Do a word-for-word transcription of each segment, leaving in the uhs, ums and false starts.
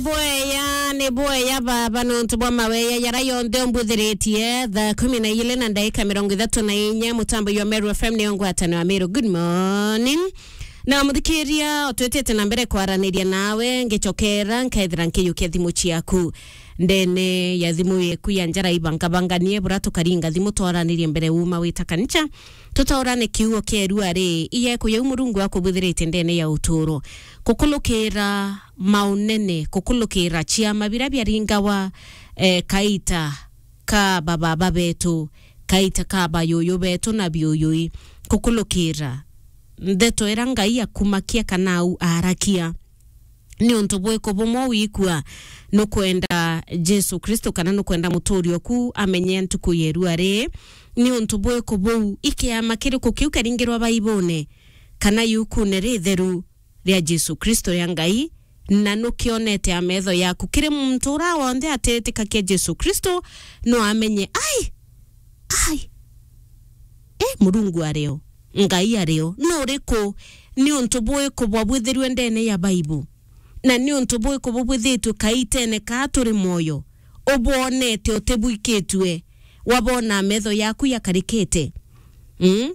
Bweya, ni bweya baba, nontu bwa maweya yara yonthe umbwithiritie. Thaa kumi na ili na ndagika mirongo ithatu na inya, mutambo jwa Meru F M niyo ngwataniro ya Meru. Good morning. Na muthikiria, utwitite na mbere kwaraniria nawe, ngicokera, nkethira nkiyukia thimu ciaku. Ndene ya thimu yeku ya njara ibangabanganie, bura tukaringa thimu twaranirie mbere uma wita kancha. Tutaurane kiugo kia irua ri, iye kuyau Murungu akubwithirite ndene ya uturo. Kukulukira maunene, kukulukira ciama bira biaringawa, eh, kaita ka bababa betu, kaita ka bayuyu betu na biuyui, kukulukira ndeto ira Ngai akumakia kana au arakia. Ni untu bwiku bumwe wikua nukwenda Jesu Kristo kana nukwenda muturi oku amenye ntuku ya irua ri? Ni untu bwiku buu ikiama kiriku kiu karingirwa Baibone kana yukune ritheru ria Jesu Kristo ya Ngai, na nukionete a metho yaku? Kiri muntu ura wonthe atetikakia Jesu Kristo, no amenye, ai, ai, e, Murungu ario, Ngai ario, nuriku? Ni untu bwiku bwabwithirue ndene ya Baibu? Na ni untu bwiku bubwithitue kaitene kaa turi mwoyo? Ubwonete utibwikitue, wabona metho yaku yakarikite? Mm?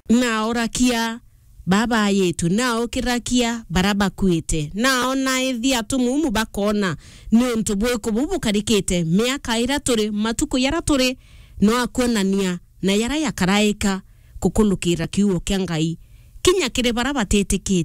Na orakia baba ayitu, na okirakia bara bakuite, na ona ithi atumumu bakona. Ni untu bwiku bubu bukarikite miaka ira turi, matuku yara turi, no akwonania na yara yakaraika kukulukira kiugo kia Ngai, kinya kiri bara batitikitie.